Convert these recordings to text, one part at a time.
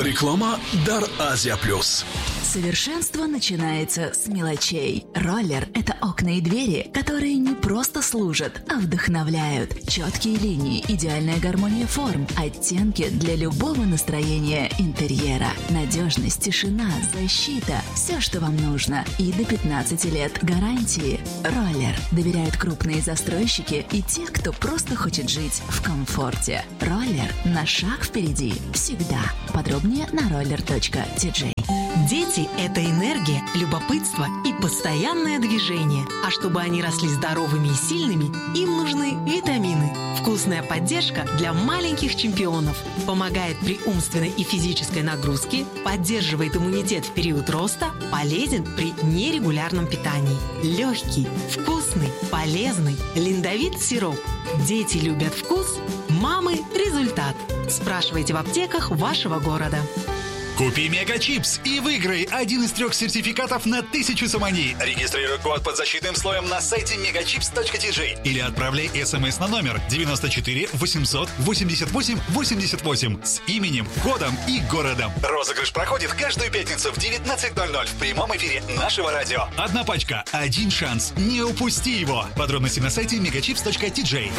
Реклама дар Азия Плюс. Совершенство начинается с мелочей. Роллер – это окна и двери, которые не просто служат, а вдохновляют. Четкие линии, идеальная гармония форм, оттенки для любого настроения интерьера. Надежность, тишина, защита – все, что вам нужно. И до 15 лет гарантии. Роллер доверяют крупные застройщики и те, кто просто хочет жить в комфорте. Роллер на шаг впереди всегда. Подробнее на roller.tj. Дети – это энергия, любопытство и постоянное движение. А чтобы они росли здоровыми и сильными, им нужны витамины. Вкусная поддержка для маленьких чемпионов. Помогает при умственной и физической нагрузке, поддерживает иммунитет в период роста, полезен при нерегулярном питании. Легкий, вкусный, полезный Линдовит сироп. Дети любят вкус, мамы – результат. Спрашивайте в аптеках вашего города. Купи Мегачипс и выиграй один из трех сертификатов на 1000 сомони. Регистрируй код под защитным слоем на сайте megachips.tj или отправляй смс на номер 94 888 88 с именем, кодом и городом. Розыгрыш проходит каждую пятницу в 19:00 в прямом эфире нашего радио. Одна пачка, один шанс. Не упусти его. Подробности на сайте megachips.tj.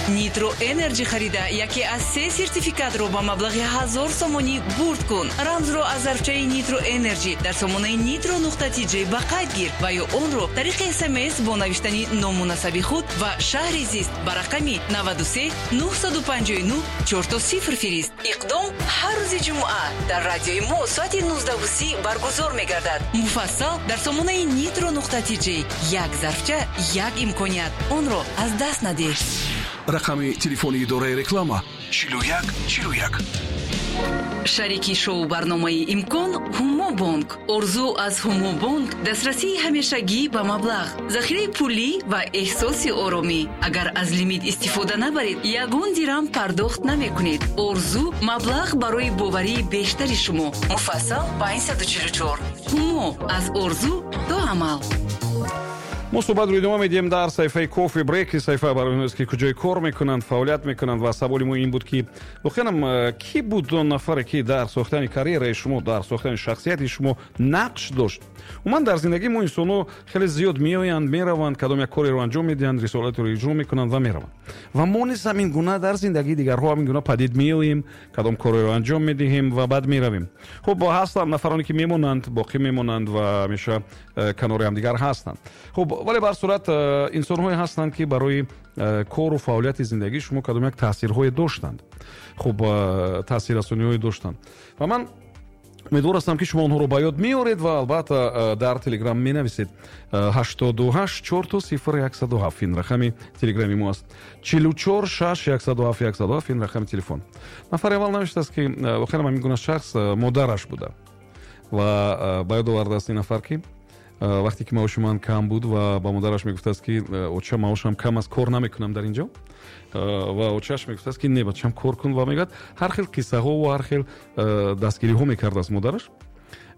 Nitro Energy харида яке аз се сертификатро ба маблағи 1000 сомонӣ бурд кун. Рамзро аз зарфчаи Nitro Energy дар сомонаи nitro.tj ба қайд гир ва ё онро тариқи СМС бо навиштани ному насаби худ ва шаҳри зист ба рақами 93 959 00 фирист. Иқдом ҳар рӯзи ҷумъа дар радиои мо соати 19:30 баргузор мегардад. Муфассал дар сомонаи nitro.tj. Як зарфча, як имконият, онро аз даст надеҳ. Рақами телефони идораи реклама: 41 41. Шарики шоу барномаи «Имкон» Ҳумобонк. Орзу аз Ҳумобонк: дастрасии ҳамешагӣ ба маблағ, захираи пулӣ ва эҳсоси оромӣ. Агар аз лимит истифода набаред, ягон дирам пардохт намекунед. Орзу: маблағ барои боварии бештари шумо. Муфассал: 544. Ҳумо: аз орзу то амал. Мо суҳбатро идома медиҳем дар саҳифаи Кофи Брейк. Саҳифа барои онҳоест, ки куҷои кор мекунанд, фаъолият мекунанд. Ва саволи мо ин буд, ки воқеанам кӣ буд он нафаре, ки дар сохтани карьераи шумо, дар сохтани шахсияти шумо нақш дошт? Умуман, дар зиндагии мо инсонҳо хеле зиёд меоянд, мераванд, кадом як кореро анҷом медиҳанд, рисолатеро иҷро мекунанд ва мераванд. Ва мо низ ҳамин гуна дар зиндагии дигарҳо ҳамин гуна падид меоем, кадом кореро анҷом медиҳем ва баъд меравем. Хуб, ҳастанд нафароне, ки мемонанд, боқӣ мемонанд ва ҳамеша канори ҳамдигар ҳастанд. Хуб, вале ба ҳар сурат инсонҳое ҳастанд, ки барои кору фаъолияти зиндагии шумо кадом як таъсирҳое доштанд, хуб, таъсиррасониҳое доштанд. Ва ман умедвор ҳастам, ки шумо онҳоро ба ёд меоред ва албатта дар Телеграм менависед. 88 000 107 ин рақами Телеграми мо аст, 44 6 107 107 ин рақами телефон. Нафари аввал навиштааст, ки воқеан ҳамин гуна шахс модараш буда ва ба ёд овардааст ин нафар, ки вақте ки маоши ман кам буд ва ба модараш мегуфтааст, ки оча, маошам кам аст, кор намекунам дар ин ҷо. Ва очааш мегуфтааст, ки не, бачам, кор кун. Ва мегӯяд, ҳар хел қиссаҳо ва ҳар хел дастгириҳо мекардааст модараш.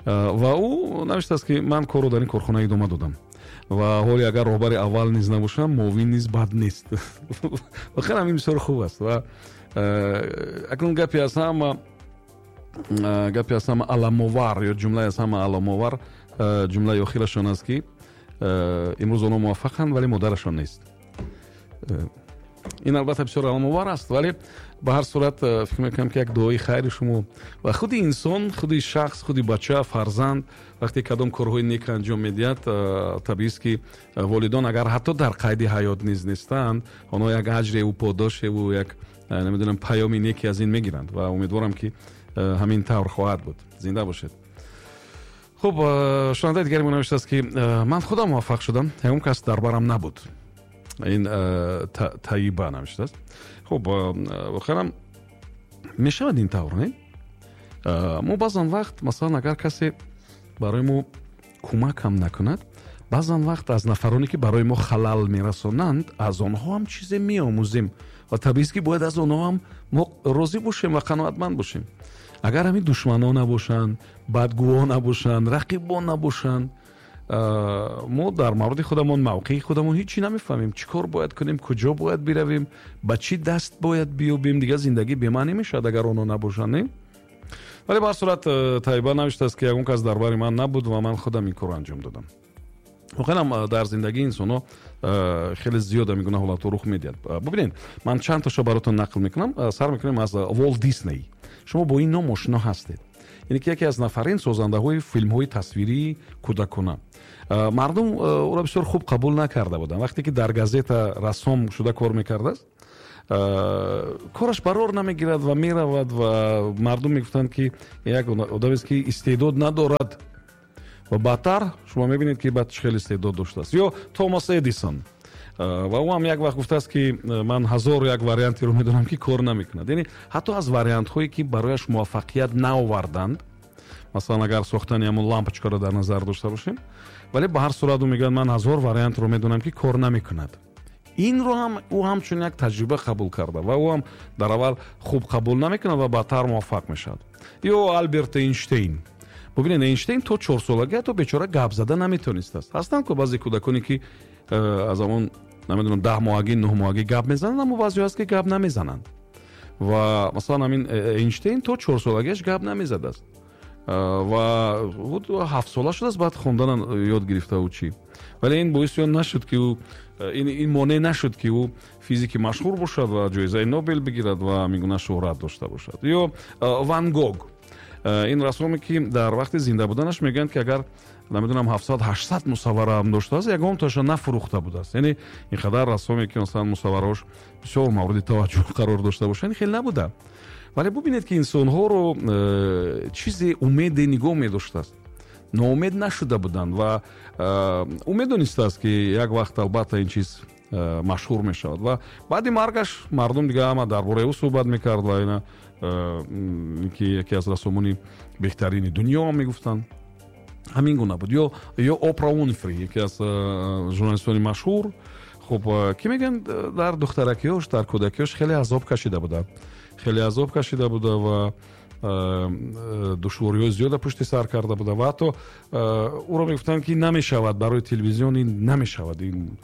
Ва ӯ навиштааст, ки ман корро дар ин корхона идома додам ва ҳоле агар роҳбари аввал низ набошам, муовин низ бад нест. Воқеан ҳамин бисёр хуб аст. Ва акнун гапи аз ҳама аламовар ё ҷумлаи аз ҳама аламовар, ҷумлаи охирашон аст, ки имрӯз онҳо муваффақанд, вале модарашон нест. Ин албатта бисёр аламовар аст, вале ба ҳар сурат фикр мекунам, ки як дуои хайри шумо ва худи инсон, худи шахс, худи бача, фарзанд вақте кадом корҳои нек анҷом медиҳад, табиист, ки волидон агар ҳатто дар қайди ҳаёт низ нестанд, онҳо як аҷреву подошеву як, намедонам, паёми неке аз ин мегиранд. Ва умедворам, ки ҳамин тавр хоҳад буд. Зинда бошед. Хуб, шунавандаи дигари мо навиштааст, ки ман худам муваффақ шудам, ягон кас дар барам набуд. Ин Таиба навиштааст. Хуб, воқеанам мешавад ин тавр, не? Мо баъзан вақт, масалан, агар касе барои мо кӯмак ҳам накунад, баъзан вақт аз нафароне, ки барои мо халал мерасонанд, аз онҳо ҳам чизе меомӯзем. Ва табиист, ки бояд аз онҳо ҳам мо розӣ бошем ва қаноатманд бошем. Агар ҳамин душманон набошанд, бадгӯҳо набошанд, рақибон набошанд, мо дар мавриди худамон, мавқеи худамон ҳеҷ чӣ намефаҳмем: чӣ кор бояд кунем, куҷо бояд биравем, ба чӣ даст бояд биёбем. Дигар зиндагӣ бемаънӣ мешавад, агар онҳо набошанд, не? Вале ба ҳар сурат Тайба навиштааст, ки ягон кас дар бари ман набуд ва ман худам ин корро анҷом додам. Воқеан дар зиндагии инсонҳо хеле зиёд ҳамин гуна ҳолатҳо рух медиҳад. Бубинед, ман чанд тошо баротон нақл мекунам. Сар мекунем аз Волт Дисней. Шумо бо ин ном ошино ҳастед, яъне ки яке аз нафарин созандаҳои филмҳои тасвирии кӯдакона. Мардум ӯро бисёр хуб қабул накарда буданд. Вақте ки дар газета рассом шуда кор мекардааст, кораш барор намегирад ва меравад, ва мардум мегуфтанд, ки як одамест, ки истеъдод надорад, ва баъдтар шумо мебинед, ки баъд хеле истеъдод доштааст. Ё Томас Эдисон, ва ӯ ҳам як вақт гуфтааст, ки ман ҳазору як вариантеро медонам, ки кор намекунад. Яъне ҳатто аз вариантҳое, ки барояш муваффақият наоварданд, масалан, агар сохтани ҳамон лампочкаро дар назар дошта бошем, вале ба ҳар сурат ӯ мегӯяд: ман ҳазор вариантро медонам, ки кор намекунад. Инро ҳам ӯ ҳамчун як таҷриба қабул карда ва ӯ ҳам дар аввал хуб қабул намекунад ва баъдтар муваффақ мешавад. Ё Алберт Эйнштейн. Бубинед, Эйнштейн то 4-солагӣ ҳатто бечора гап зада наметонистааст. Ҳастанд ку баъзе кӯдаконе, ки аз ҳамон, намедонам, 10 моҳагӣ, 9 моҳагӣ гап мезананд, аммо баъзеҳо ҳаст, ки гап намезананд. Ва масалан, ҳамин Эйнштейн то 4-солагиаш гап намезадааст ва 7 сола шудааст, баъд хонданам ёд гирифтаву чӣ. Вале ин боиси он нашуд, ки ӯ ин монеъ нашуд, ки ӯ физики машҳур бошад ва ҷоизаи Нобел бигирад ва ҳамин гуна шӯҳрат дошта бошад. Ё Ван Гог, ин рассоме, ки дар вақти зинда буданаш мегӯянд, ки агар намедонам, 700, 800 мусаввараам доштааст, ягонташа нафурӯхта будааст. Яъне ин қадар рассоме, ки масалан мусаввараҳош бисёр мавриди таваҷҷӯҳ қарор дошта бошад, хеле набуда. Вале бубинед, ки инсонҳоро чизе умеде нигоҳ медоштааст, ноумед нашуда буданд ва ӯ медонистааст, ки як вақт албатта ин чиз машҳур мешавад. Ва баъди маргаш мардум дига ҳама дар бораи ӯ суҳбат мекард ва ина ки яке аз рассомони беҳтарини дунё мегуфтанд. Ҳамин гуна буд. Ё Опра Уинфри, яке аз журналистони машҳур, хуб, ки мегӯянд, дар духтаракиёш, дар кӯдакиёш хеле азоб кашида буда, хеле азоб кашида буда ва душвориҳои зиёда пушти сар карда буда. Ва ҳатто ӯро мегуфтанд, ки намешавад барои телевизион, ин намешавад. Ин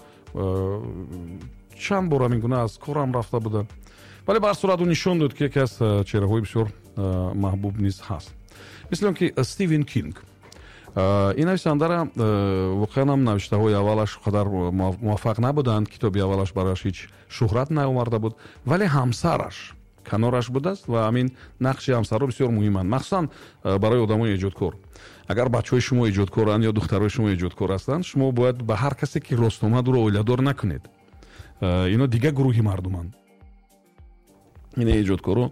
чанд бор ҳамин гуна аз корам рафта буда. Вале ба ҳар сурат ӯ нишон дод, ки яке аз чеҳраҳои бисёр маҳбуб низ ҳаст. Мисли он ки Стивен Кинг, ин нависандара воқеан ҳам навиштаҳои аввалаш қадар муваффақ набуданд, китоби аввалаш барояш ҳеҷ шӯҳрат наоварда буд, вале ҳамсараш канораш будааст. Ва ҳамин нақши ҳамсарро бисёр муҳиманд, махсусан барои одамои эҷодкор. Агар бачаҳои шумо эҷодкоранд ё духтарои шумо эҷодкор ҳастанд, шумо бояд ба ҳар касе, ки рост омад, ӯро оиладор накунед. Ино дигар гурӯҳи мардуманд. Ин эҷодкоро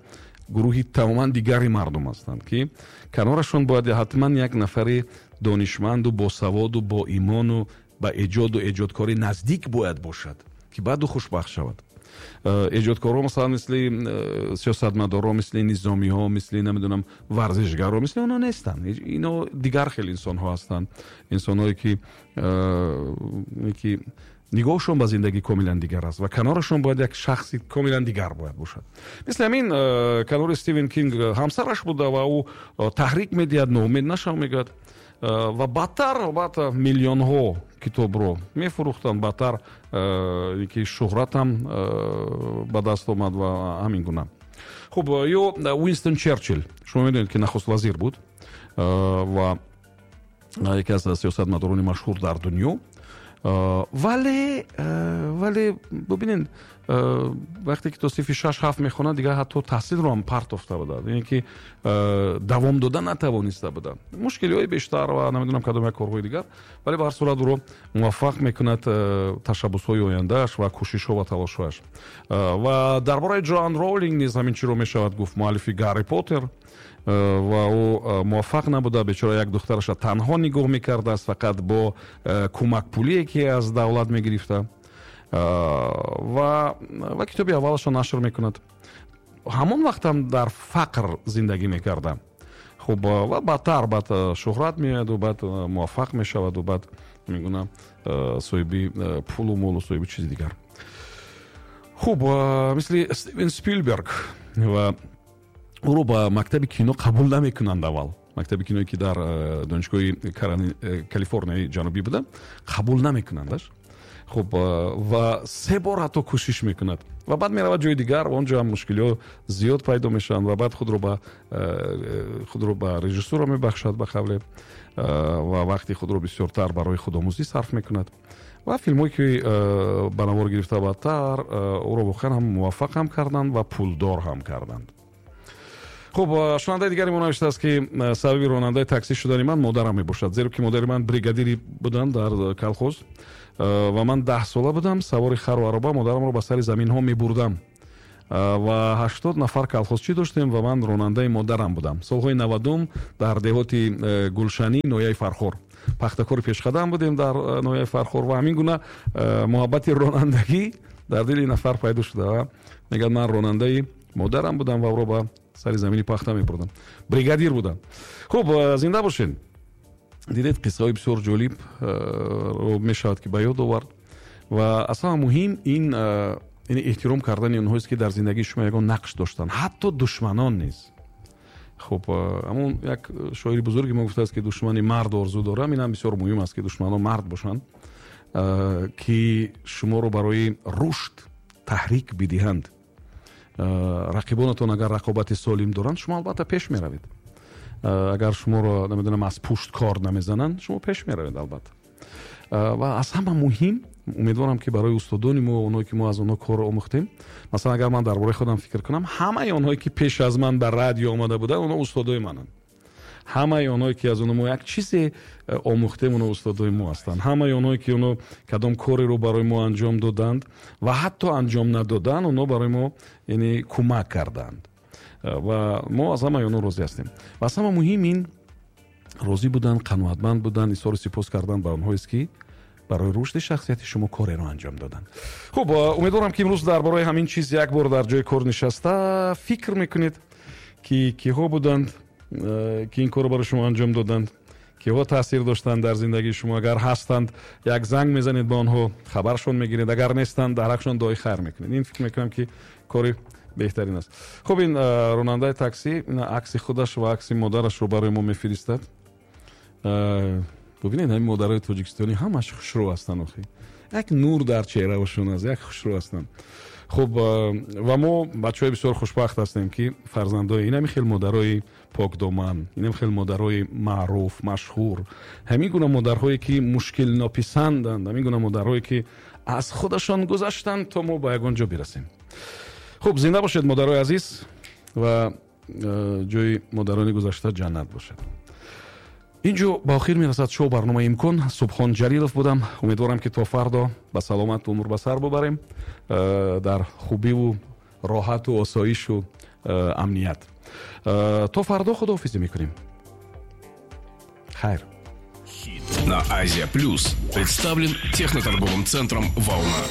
гурӯҳи тамоман дигари мардум ҳастанд, ки канорашон бояд ҳатман як нафари донишманду босаводу боимону ба эҷоду эҷодкорӣ наздик бояд бошад, ки баъду хушбахт шавад. Эҷодкорҳо, масалан, мисли сиёсатмадорҳо, мисли низомиҳо, мисли, намедонам, варзишгарҳо, мисли онҳо нестанд. Ино дигар хел инсонҳо ҳастанд, инсонҳое, ки нигоҳшон ба зиндагӣ комилан дигар аст ва канорашон бояд як шахси комилан дигар бояд бошад. Мисли ҳамин канори Стивен Кинг ҳамсараш буда ва ӯ таҳрик медиҳад, ноумед нашав мегӯяд. Ва баъдтар албатта миллионҳо китобро мефурӯхтанд, баъдтар ки шӯҳратам ба даст омад ва ҳамин гуна. Хуб, ё Уинстон Черчилл. Шумо медонед, ки нахуст вазир буд ва яке аз сиёсатмадорони машҳур дар дунё. Вале бубинед, вақте ки то синфи 6, 7 мехонад, дигар ҳатто таҳсилро ҳам партофта буда, яъне ки давом дода натавониста буда, мушкилиҳои бештар ва намедонам кадом як корҳои дигар. Вале ба ҳар сурат ӯро муваффақ мекунад ташаббусҳои ояндааш ва кӯшишҳо ва талошҳояш. Ва дар бораи Ҷоан Роулинг низ ҳамин чиро мешавад гуфт, муаллифи Гарри Поттер. Ва ӯ муваффақ набуда, бечора як духтараша танҳо нигоҳ мекардааст, фақат бо кӯмакпулие, ки аз давлат мегирифта, ва китоби аввалашро нашр мекунад. Ҳамон вақтам дар фақр зиндагӣ мекарда. Хуб, ва баъдтар баъд шӯҳрат меояду баъд муваффақ мешаваду баъд мегуна соҳиби пулу молу соҳиби чизи дигар. Хуб, мисли Стивен Спилберг, ва ӯро ба мактаби кино қабул намекунанд аввал. Мактаби киное, ки дар донишгоҳи Калифорнияи Ҷанубӣ буда, қабул намекунандаш. Хуб, ва се бор ҳатто кӯшиш мекунад ва баъд меравад ҷои дигар, он ҷо ҳам мушкилиҳо зиёд пайдо мешаванд ва баъд худро ба режиссура мебахшад, ба қавле, ва вақти худро бисёртар барои худомӯзӣ сарф мекунад. Ва филмҳое, ки ба навор гирифта баъдтар, ӯро воқеан ҳам муваффақ ҳам карданд ва пулдор ҳам карданд. Хуб, шунавандаи дигари мо навиштааст, ки сабаби ронандаи таксӣ шудани ман модарам мебошад, зеро ки модари ман бригадири буданд дар колхоз ва ман 10 сола будам, савори хару ароба модарамро ба сари заминҳо мебурдам ва 80 нафар колхозчӣ доштем ва ман ронандаи модарам будам. Солҳои 90-ум дар деҳоти Гулшанӣ, ноҳияи Фархор, пахтакори пешқадам будем дар ноҳияи Фархор. Ва ҳамин гуна муҳаббати ронандагӣ дар дили нафар пайдо шуда ва мегӯяд, ман ронандаи модарам будам ва ӯро ба сари замини пахта мебурдам, бригадир будам. Хуб, зинда бошед. Дидед, қиссаҳои бисёр ҷолиб мешавад, ки ба ёд овард. Ва аз ҳама муҳим ин эҳтиром кардани онҳоест, ки дар зиндагии шумо ягон нақш доштанд, ҳатто душманон низ. Хуб, ҳамон як шоири бузурги мо гуфтааст, ки душмани мард орзу дорам. Инам бисёр муҳим аст, ки душманон мард бошанд, ки шуморо барои рушд таҳрик бидиҳанд. Рақибонатон агар рақобати солим доранд, шумо албатта пеш меравед. Агар шуморо, намедонам, аз пушт кор намезананд, шумо пеш меравед албатта. Ва аз ҳама муҳим, умедворам, ки барои устодони мо, онҳое ки мо аз онҳо кор омӯхтем, масалан, агар ман дар бораи худам фикр кунам, ҳамаи онҳое, ки пеш аз ман ба радио омада буданд, онҳо устодои мананд. Ҳамаи онҳое, ки аз онҳо мо як чизе омӯхтем, онҳо устодои мо ҳастанд. Ҳамаи онҳое, ки онҳо кадом кореро барои мо анҷом доданд ва ҳатто анҷом надоданд, онҳо барои мо, яъне, кӯмак карданд ва мо аз ҳамаи онҳо розӣ ҳастем. Ва аз ҳама муҳим ин розӣ будан, қаноатманд будан, изҳори сипос кардан ба онҳоест, ки барои рушди шахсияти шумо кореро анҷом доданд. Хуб, умедворам, ки имрӯз дар бораи ҳамин чиз як бор дар ҷои кор нишаста фикр мекунед, ки киҳо буданд, ки ин корро барои шумо анҷом доданд, киҳо таъсир доштанд дар зиндагии шумо. Агар ҳастанд, як занг мезанед ба онҳо, хабаршон мегиред, агар нестанд, дар ҳақшон дуои хайр мекунед. Ин, фикр мекунам, ки кори беҳтарин аст. Хуб, ин ронандаи таксӣ акси худаш ва акси модарашро барои мо мефиристад. Бубинед, ҳамин модарои тоҷикистонӣ ҳамаш хушрӯ ҳастанд. Охи, як нур дар чеҳраашон аст, як хушрӯ ҳастанд. Хуб, ва мо бачаҳои бисёр хушбахт ҳастем, ки фарзандои инами хел модарои покдоман, инами хел модарои маъруф, машҳур, ҳамин гуна модарҳое, ки мушкилнописанданд, ҳамин гуна модарҳое, ки аз худашон гузаштанд, то мо ба ягон ҷо бирасем. Хуб, зинда бошед, модарои азиз, ва ҷои модарони гузашта ҷаннат бошад. Ин ҷо ба охир мерасад шоу барномаи «Имкон». Субҳон Ҷалилов будам. Умедворам, ки то фардо ба саломат умр ба сар бубарем, дар хубиву роҳату осоишу амният. То фардо худоҳофизӣ мекунем, хайр. На Азия Плюс представлен техноторговым центром «Волна».